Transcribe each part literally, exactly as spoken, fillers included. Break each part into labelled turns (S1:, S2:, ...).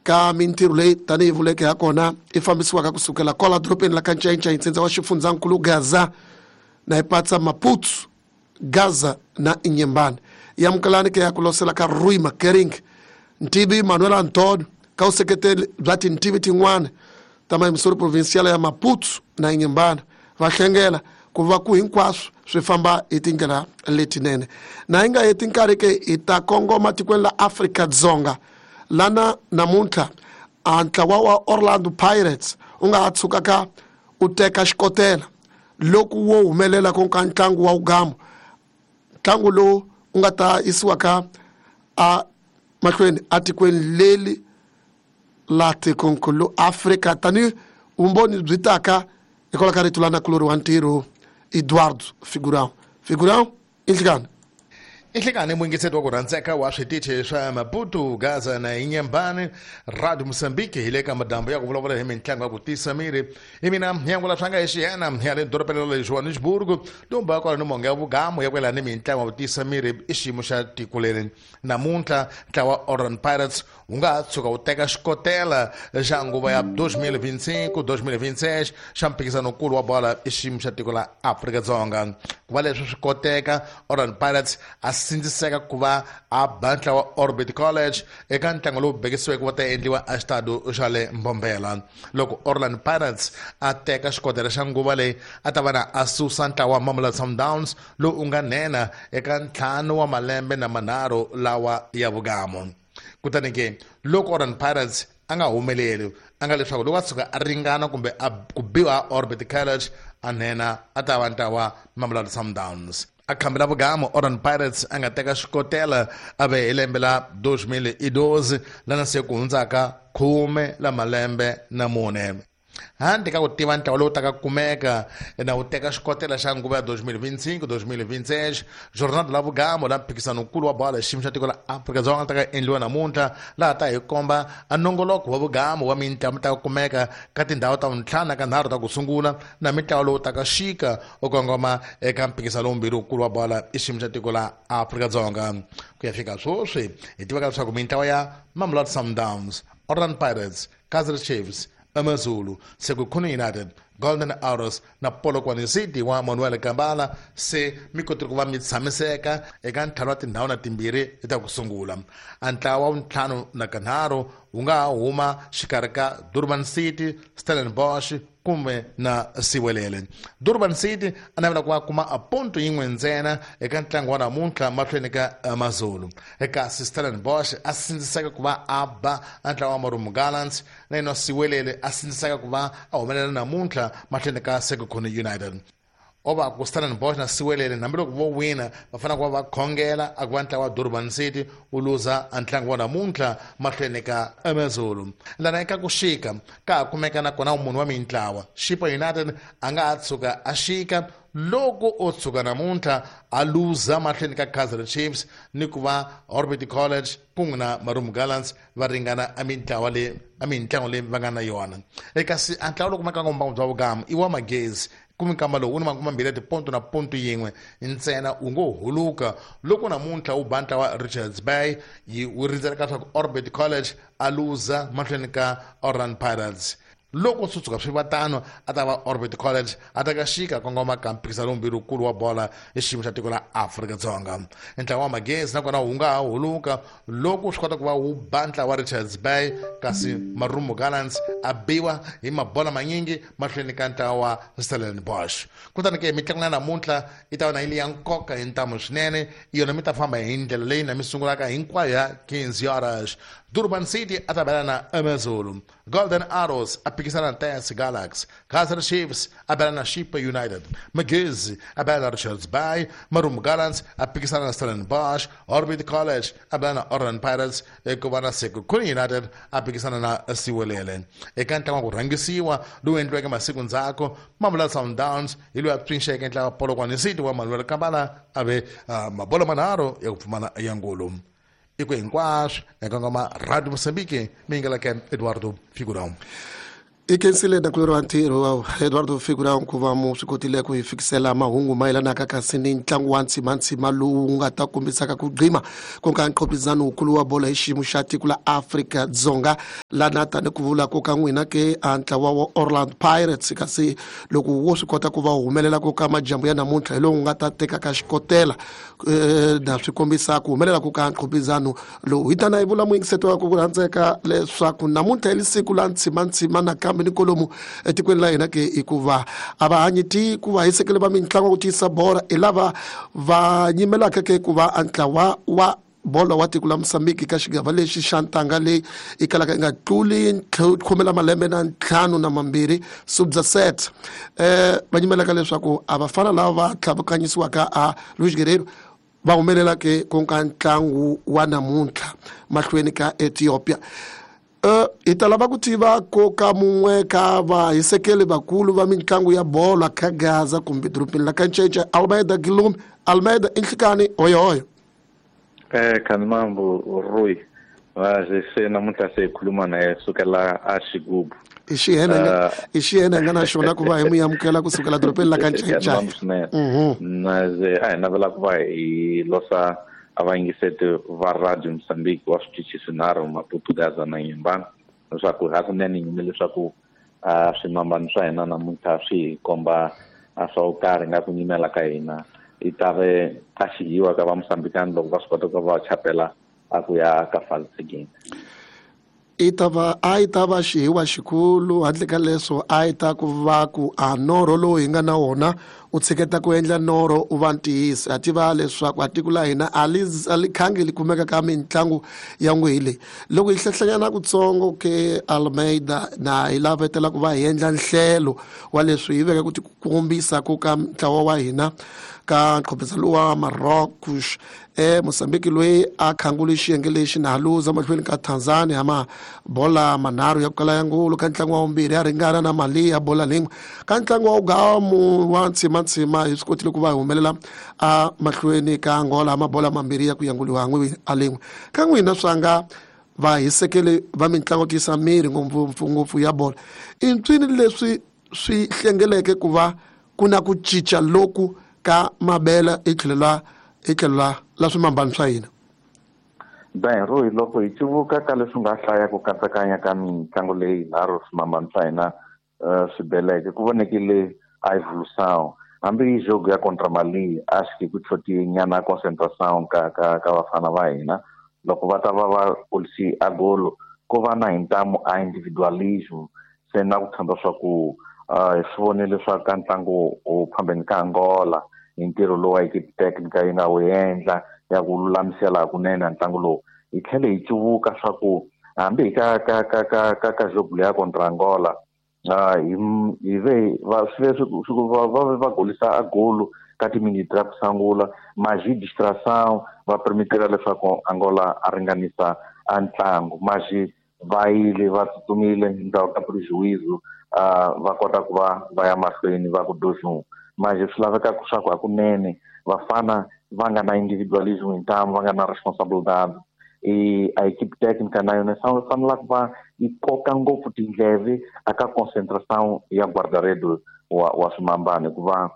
S1: Ka mintirho leyi tanihi vuleke ha kona i fambisiwaka kusukela kwala dorobeni la ka NcayincayI ntsindza wa xifundzankulu Gaza na hi patsa Maputo Gaza na Inhambane. Yamukelani ke ya ku losela ka Rui Makering Ntivi Manuel Antonio ka vuseketeri bya tintivi tin'wana ta mayimisori provincial ya Maputo na Inhambane va hlengela ku va ku hinkwaswo swi famba hi tindlela letinene. Na hi nga heti nkarhi ke hi ta kongoma tikweni la Afrika-Dzonga lana namuntlha a ntlawa wa Orlando Pirates u nga ha tshukaka u teka xikotela loko wo humelela ku ka ntlangu wa Ugamo, ntlangu lowu u nga ta yisiwaka a mahlweni atikweni leri la tikonkulu Afrika tanihi vumbhoni byi taka hikwalaho ka rito la nakulori wa ntirho Eduardo Figurão. Figurão, inhlikani.
S2: Inhlikani muyingiseti wa ku rhandzeka wa switichi swa Maputo, Gaza na Inhambane, Radio Mozambique hi le ka madambu ya ku vulavula hi mitlangu ya ku tisa miri. Hi mina Nyangula Swanga hi xiyena ya le dorobeni ra le Johannesburg, domba kwala ni monga ya vugamu ya ku yelana ni mitlangu ya ku tisa miri i xiyimo xa tiko leri. Namuntlha ntlawa Orlando Pirates wu nga ha tshuka wu teka xikotela xa nguva ya dois mil e vinte e cinco, dois mil e vinte e seis xa mphikizanokulu wa bola i xiyimo xa tiko la Afrika-Dzonga. Ku va leswi swi koteka, Orlando Pirates a sindziseka ku va a ba ntlawa Orbit College eka ntlangu lowu bekisiweke wa ta endliwa a xitado xa le Mbombela. Loko Orlando Pirates a teka xikotela xa nguva leyi, a ta va na a susa ntlawa wa Mamelodi Sundowns lowu u nga nhenha eka ntlhanu wa malembe na manharhu lawa ya vugamo. Kutani ke loko Orlando Pirates a nga humeleli, a nga leswaku loko a tshuka a ringana kumbe a ku biwa Orbit College, a nhenha a ta va ntlawa Mamelodi Sundowns. A khambela vugamo Orlando Pirates a nga teka xikotela a ve hi lembe la dois mil e doze lana se ku hundzaka khume la malembe na mune. Handle ka ku tiva ntlawa lowu taka kumeka na wu teka xikotela xa nguva ya dois mil e vinte e cinco, dois mil e vinte e seis, jornada la vugamo la mphikizanokulu wa bola xiyimo xa tiko la Afrika-Dzonga ta ka endliwa namuntlha, laha ta hi komba a nongoloko wa vugamo wa mitlangu ta kumeka ka tindhawu ta vuntlhanu na ka nharhu ta ku sungula na mitlawa lowu taka xika u kongoma eka mphikizano wumbirhi wukulu wa bola i xiyimo xa tiko la Afrika-Dzonga. Ku ya fika sweswi hi tivaka leswaku mintlawa ya Mamelodi Sundowns, Orlando Pirates, Kaizer Chiefs, AmaZulu, Sekhukhune United, Golden Arrows na Polokwane City wa Manuel Kambala se mi kotile ku va mi tshamiseka eka ntlhanu wa tindhawu na timbirhi ta ku sungula. A ntlawa wa ntlhanu na kanharhu wu nga ha huma xikarhi ka Durban City, Stellenbosch kumbe na Siwelele. Durban City a navela ku va kuma a ponto yin'we ntsena eka ntlangu wa namuntlha mahlweni ka AmaZulu. Kasi Stellenbosch a sindziseka ku va a ba a ntlawa wa Marumo Gallants, na yena Siwelele a sindziseka ku va a humelela namuntlha mahlweni ka Sekhukhune United. O va ku Stellenbosch na Siwelele hambiloko vo wina va fanele ku va va khongela a ku va ntlawa wa Durban City wu luza a ntlangu wa namuntlha mahlweni ka AmaZulu. Lana eka ku xika ka ha kumeka na kona munhu wa mintlawa Chippa United a nga ha tshuka a xika loko o tshuka namuntlha a luza mahlweni ka Kaizer Chiefs ni ku va Orbit College kun'we na Marumo Gallants va ringana a mintlawa leyi a mintlangu leyi va nga na yona. Kasi a ntlawa lowu kumekaka mbangu bya vugamu i wa Magezi, kumbe nkama lowu wu ni makume mambirhi ya tiponto na ponto yin'we ntsena, wu ngo huluka loko namuntlha wu ba ntlawa Richards Bay, yi wu rindzeleka leswaku Orbit College a luza mahlweni ka Orlando Pirates. Loko swi tshuka swi va tano, a ta va Orbit College a ta ka xika kongoma ka mphikizano wumbirhi wukulu wa bola hi xiyimo xa tiko la Afrika-Dzonga. Ntlawa wa Magezi nakona wu nga ha huluka loko swi kota ku va wu ba ntlawa wa Richards Bay, kasi Marumo Gallants a biwa hi mabola manyingi mahlweni ka ntlawa wa Stellenbosch. Kutani ke mitlangu ya namuntlha yi ta va na yi li ya nkoka hi ntamu swinene, yona mi ta famba hi ndlela leyi na mi sungulaka hinkwayo ya quinze horas. Durban City a ta bela na AmaZulu, Golden Arrows a phikizana na T S Galaxy, Kaizer Chiefs a bela na Chippa United, Magezi a bela na Richards Bay, Marumo Gallants a phikizana na Stellenbosch, Orbit College a bela na Orlando Pirates, ku va na Sekhukhune United a phikizana na Siwelele. Eka ntlangu wa ku rhangisiwa lowu endliweke masiku ndzhaku, Mamelodi Sundowns hi loyi a pfinxeke ntlawa wa Polokwane City wa Manuel Kambala a ve mabolo manharhu ya ku pfumala ya ngulu. I ku hinkwaswo eka ngoma Radio Mozambique mi yingeleke Eduardo Figurão.
S1: I khensile dakulori wa ntirho wa Eduardo Figurão ku va mu swi kotile ku hi fikisela mahungu mayelanaka kasi ni ntlangu wa ntsimantsima lowu nga ta kombisaka ku gqima ku nga nqopizano wukulu wa bolo hi xiyimo xa tiko la Afrika-Dzonga lana tani ku vula ku ka n'wina ke a ntlawa wa Orlando Pirates kasi loko wo swi kota ku va humelela ku ka majambu ya namuntlha hi lowu nga ta tekaka xikotela na swi kombisa ku humelela ku ka nqopizano lowu. Hi tana hi vula muyingiseto wa ku rhandzeka leswaku namuntlha hi siku la ntsimantsima nakambe ni kolomu etikweni la hina ke hikuva a va hanyi ti ku va hisekele va mitlangu ku tiyisa bora hi lava va nyimelaka ke ku va a ntlawa wa bolo wa tiko la Mozambique ka xigava lexi xa ntanga leyi yi kalaka yi nga tluli khume la malembe na ntlhanu na mambirhi sub-set eh va nyimelaka leswaku a vafana lava va tlhavukanyisiwaka a Luis Guerreiro va humelela ke ku nga ntlangu wa namuntlha mahlweni ka Ethiopia. Uh, hi ta lava ku tiva ko ka mun'we ka vahisekeli vakulu va mitlangu ya bolo ka Gaza kumbe dorobeni la ka Ncece, Almeida Gilumi. Almeida, inhlikani hoyohoyo.
S3: Eh Kanimambo Rui se namuntlha se hi khuluma na ye sukela a Xigubu.
S1: I xiyena i xiyena hi nga na xona ku va hi mu amukela kusukela dorobeni la ka Ncece.
S3: Na ze a hi navela ku va hi losa a va yingiseti va Radio Mozambique wa switichi swinharhu Maputo, Gaza na Inhambane leswaku hakunene yini leswaku swimambano swa hina namuntlha swi hi komba swa ku karhi nga ku nyimela ka hina i ta ve a xihiwa ka va Mozambikani loko va swi kota ku va chapela a ku ya ka phase seguinte.
S1: I ta va a yi ta va xihiwa xikulu handle ka leswo a yi ta ku va ku a norho lowu hi nga na wona u tshiketa ku endla norho u va ntiyiso. Ha tiva leswaku a tiko la hina a li a li khangi li kumeka ka mitlangu ya n'wihi leyi. Loko hi hlehlanyana kutsongo ke Almeida na hi lavetela ku va hi endla nhlelo wa leswi hi veka ku tikombisa ku ka ntlawa wa hina ka nqopisa lowa Marocos eh Mozambique loyi a khangule xiyenge lexi na luza mahlweni ka Tanzania ma bola manharhu ya ku kala ya ngulu ka ntlangu wa vumbirhi ya ringana na Mali ya bola lin'we ka ntlangu wa ugamu wa ntsimantsima hi swi kotile ku va hi humelela a mahlweni ka Angola mabola mambirhi ya ku yanguliwa n'wi a lin'we. Ka n'wina swa nga va hisekele va mitlangu tiyisa miri ngopfungopfu ya bola i ntswini leswi swi hlengeleke ku va ku na ku cinca loku ka mabela i tlhelo la i tlhelo la la swimambano swa hina.
S3: Ben Rui, loko hi cuvuka ka leswi nga hlaya ku katsakanya ka mitlangu leyi nharhu swimambano swa hina swi beleke ku vonekile a evolução hambi hi jogo ya contra Mali a xi ku tlhoti nyana concentração ka ka ka vafana va hina loko va ta va va polisi a golo ko va na hintamu a individualism se na ku tshemba swa ku hi swi vonile swa ka ntlangu u phambeni ka Angola hi ntirho lowu a equipe technica yi nga wu endla ya ku lulamisela hakunene ntlangu lowu. Hi tlhele hi cuvuka swa ku hambi hi ka ka ka ka ka ka jogo leya contra Angola hi hi ve va swi ve swi va va va golisa a golo ka timiniti ta ku sungula maji distração va permitira leswaku Angola a ringanisa a ntlangu maji va yile va tsutsumile endzhaku ka prejuízo va kota ku va va ya mahlweni va ku dois um maji swi laveka swa ku hakunene vafana va nga na individualism hintamu va nga na responsabilidade e a equipe técnica na yona fanela ku va yi koka ngopfu tindleve aka concentração ya guarda-redes wa wa swimambano hikuva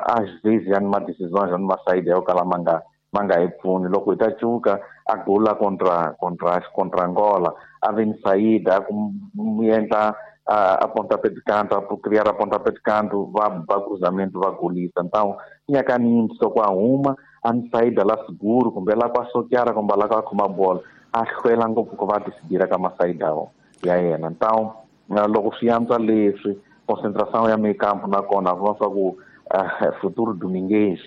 S3: às vezes ya ni ma-decisões ya ni masayidi ya yo kala ma nga ma nga hi pfuni. Loko hi ta cuka a gola contra contra contra Angola a ve ni sayida ku mu endla a pontapé de canto, a criar a pontapé de canto, va va cruzamento, va golisa. Então, tinha caminho só com a uma, a saída lá seguro, kumbe lá com a soqueara, kumbe lá com a bola. A hlwela ngopfu ku va decidir ka masaida ya yena. Então, loko swi antswa leswi, concentração ya meio campo nakona va swa ku futuro Domingues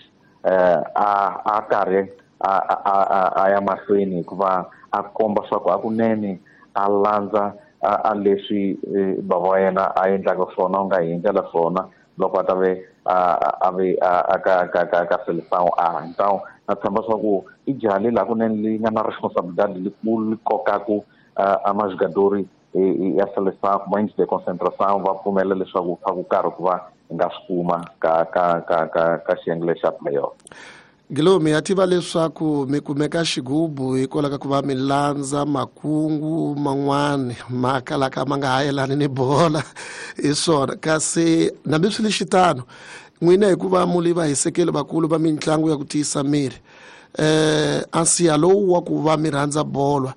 S3: a a karhi a a a ya mahlweni hikuva a komba swa ku hakunene a landza a leswi bava wa yena a endlaka swona u nga hi endlela swona loko a ta ve a ve a ka ka ka ka seleção a. Então na tshemba swa ku i jaha leri hakunene li nga na responsabilidade likulu li kokaku a majogadori ya seleção points de concentração va pfumela leswaku swa ku karhi ku va hi nga swi kuma ka ka ka ka ka xiyenge lexa playoff.
S1: Guilherme ya tiva leswaku mi kumeka xigubu hikwalaho ka ku va mi landza makungu man'wani ma kalaka ma nga ha yelani ni bola hi swona kasi nambi swi le xitano n'wina hikuva mu li vahisekeli vakulu va mitlangu ya ku tiyisa miri eh ansiya lowu wa ku va mi rhandza bolo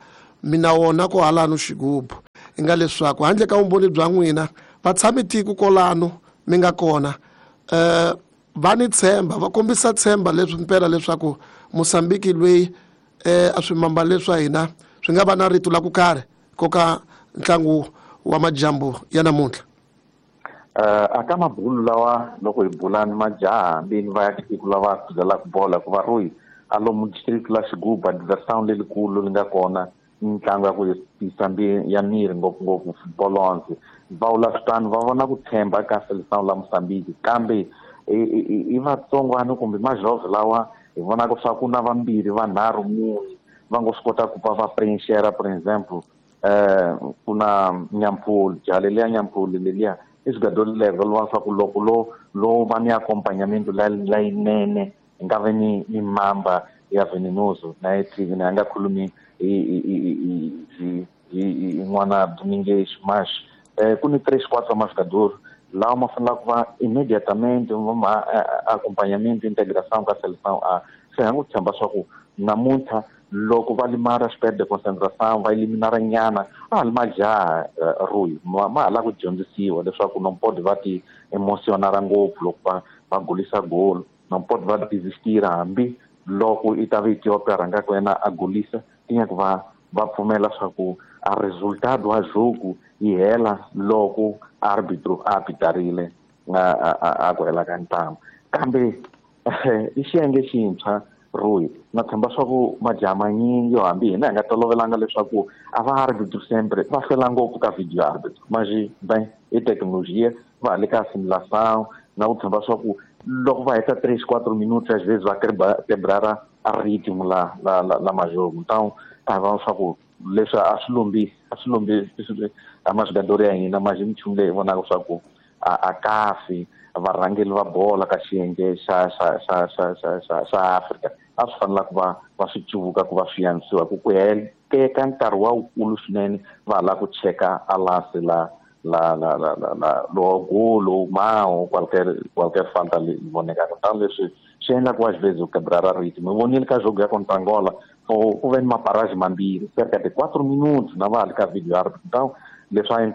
S1: mina wona ko halano xigubu i nga leswaku handle ka vumbhoni bya n'wina vatshami tiko kolano mi nga kona eh va ni tshemba va kombisa tshemba leswi mpela leswaku Mozambique loyi eh a swimamba leswa hina swi nga va na rito la ku karhi koka ntlangu wa majambu ya namuntlha.
S3: Uh, aka mabulu lawa loko hi bulani majaha hambi va ya tiko lava khuzelaka bola ku va royi a lomu district la Xigubu diversão lelikulu li nga kona mitlangu ya ku tiyisa ya miri ngopfungopfu football onze va vula switano va vona ku tshemba ka seleção la Mozambique kambe i vatsongwana kumbe majove lawa hi vonaka swa ku na vambirhi vanharhu mune va ngo swi kota ku va va preencher por exemple eh ku na Nyampuli jaha leliya Nyampuli leliya i jogador level wa swa ku loko lo lo va ni acompanhamento la layinene hi nga ve ni ni mamba ya venenoso na ye T V na nga khulumi hi hi hi hi n'wana Domingues mas eh ku ni três quatro jogadores lawa ma fanele ku va imediatamente ma acompanhamento integração ka seleção A se ha ngo tshemba swa ku namuntlha loko va limara xipede de concentração va eliminara nyana a li majaha Rui ma ma hala ku dyondzisiwa leswaku no pode va ti emocionara ngopfu loko va va golisa golo no pode va desistira hambi loko i ta va Ethiopia rhangaka yena a golisa tinya ku va va pfumela swa ku a resultado wa jogo yi hela loko arbitro a apitarile a ku hela ka ntlangu kambe i xiyenge xintshwa Rui na tshemba swa ku majaha manyingi yo hambi hina hi nga tolovelanga leswaku a va arbitro sempre va hlwela ngopfu ka video arbitro mas bem i tecnologia va le ka simulação na ku tshemba swa ku loko va heta três quatro minutos às vezes va quebrar a ritmo la la la, la majogo então a va swa ku leswi a swi lombi a swi lombi a majogador ya hina mas minchumu leyi vonaka swa ku a a kafi varhangeli va bola ka xiyenge xa xa xa xa xa xa xa Afrika a swi fanela ku va va swi cuvuka ku va swi yanisiwa ku ku heleka nkarhi wa wukulu swinene va hala ku cheka a lance la la la la la la lo golo mao qualquer qualquer falta li vonekaka tano leswi swi endla ku às vezes o quebrar a ritmo eu vonile ka jogo ya contra Angola ku ve ni maparage mambirhi cerca de quatro minutos na va hali ka video árbitro então leswi a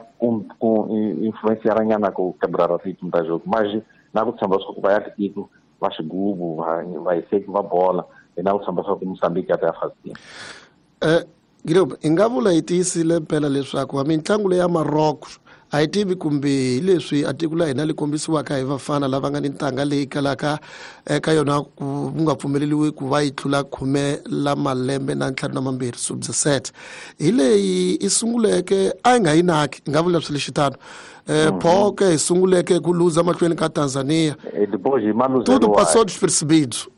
S3: ku influenciara nyana ku quebrar a ritmo da jogo mas na ku tshemba swa ku va ya tiko va xigubu va va hiseki va bola hi na ku tshemba swa ku Mozambique ya ta ya fazini.
S1: Eh Guilherme hi nga vula hi tiyisile mpela leswaku wa mitlangu leya Morocco a hi tivi kumbe hi leswi a tiko la hina li kombisiwaka hi vafana lava nga ni ntanga leyi kalaka eka yona ku nga pfumeleriwi ku va yi tlula khume la malembe na ntlhanu na mambirhi sub dezessete hi leyi i sunguleke a yi nga yi naki hi nga vula swi lexitano eh Poke hi sunguleke ku luza mahlweni ka Tanzania tudo passou despercebido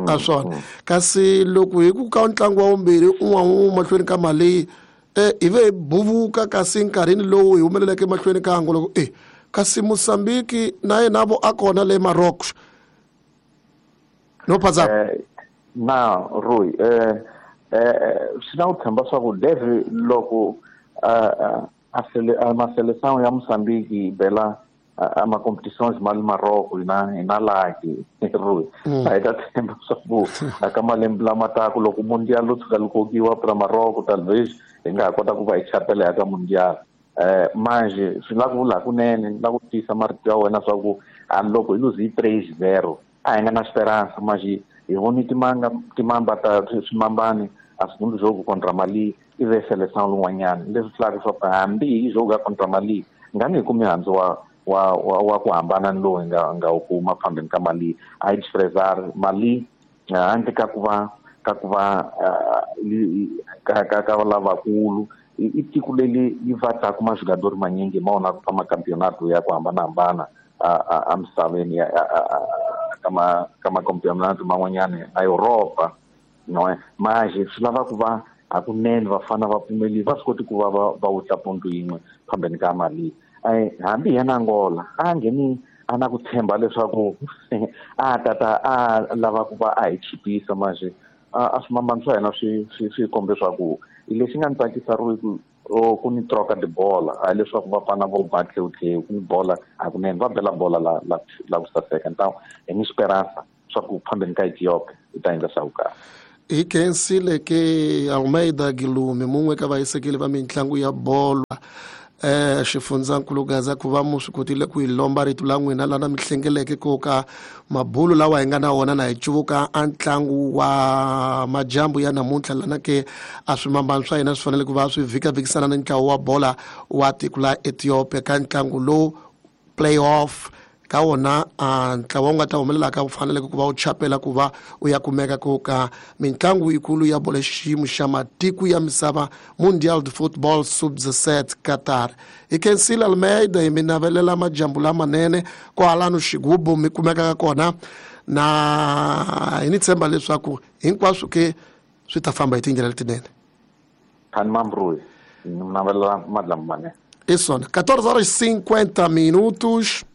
S1: a swona kasi loko hi ku ka ntlangu wa vumbirhi un'wana mahlweni ka Mali eh hi ve buvuka kasi nkarhini lowu hi humeleleke mahlweni ka Angola loko eh kasi Mozambique na yena vo a kona le Morocco no pasa
S3: eh, na Rui eh eh swi na ku tshemba swa ku deve loko a a ma seleção ya Mozambique yi bela a ma competições mal Marrocos na na laki Rui a hi ta tshemba swa ku aka malembe lama taka loko mundial wu tshuka li kokiwa pra Marrocos talvez hi nga ha kota ku va hi chapela ya ka mundial eh manje swi la ku vula kunene la ku tiyisa marito ya wena swa ku hambi loko hi luze hi três zero a hi nga na esperança mas hi voni timanga timamba ta swimambani a segundo jogo contra Mali i ve seleção lun'wanyana leswi tlulaka swa ku hambi hi jogo ya contra Mali nga ni hi kumi mihandzu wa wa wa wa ku hambana ni lowu hi nga nga wu kuma phambeni ka Mali a yi desprezar Mali handle ka ku va ka ku va ka ka ka lavakulu i tiko leri yi va taka majogador manyingi ma vonaka ka makampeonato ya ku hambanahambana a a misaveni ya ka ma ka makampeonato man'wanyana a Europa no mas swi lava ku va hakunene vafana va pfumeli va swi koti ku va va va wutla ponto yin'we phambeni ka Mali hambi yena Angola a ngheni A na ku tshemba leswaku a tata a lava ku va a hi chipisa manje a swimambano swa hina swi swi swi kombe leswaku lexi nga ni tsakisa ri ku ku ni troka tibola hayi leswaku va fana vo ba tlhewutlhewu ku ni bola hakunene va bela bola la la la ku saseka ntawu hi ni esperanza swa ku phambeni ka Ethiopia hi ta endla swa ku kahle.
S1: Hi khensile ke Almeida Gilume mun'we ka vahisekeli va mitlangu ya bolo eh xifundzankulu Gaza ku va mu swi kotile ku hi lomba rito la n'wina lana mi hlengeleke ko ka mabulu lawa hi nga na wona na hi cuvuka a ntlangu wa majambu ya namuntlha lana ke a swimambano swa hina swi fanele ku va swi vhikavhikisana na ntlawa wa bola wa tiko la Ethiopia ka ntlangu lowu playoff ka wona a ntlawa wu nga ta humelelaka wu faneleke ku va wu chapela ku va u ya kumeka ku ka mitlangu yikulu ya bolo xiyimo xa matiko ya misava Mundial de Football sub dezessete Qatar. Hi khensile Almeida hi mi navelela majambu lamanene kwalano xigubu mi kumekaka kona na hi ni tshemba leswaku hinkwaswo ke swi ta famba hi tindlela letinene.
S3: Khani Mambrui ni navelela madlambu manene.
S1: I swona quatorze horas e cinquenta minutos.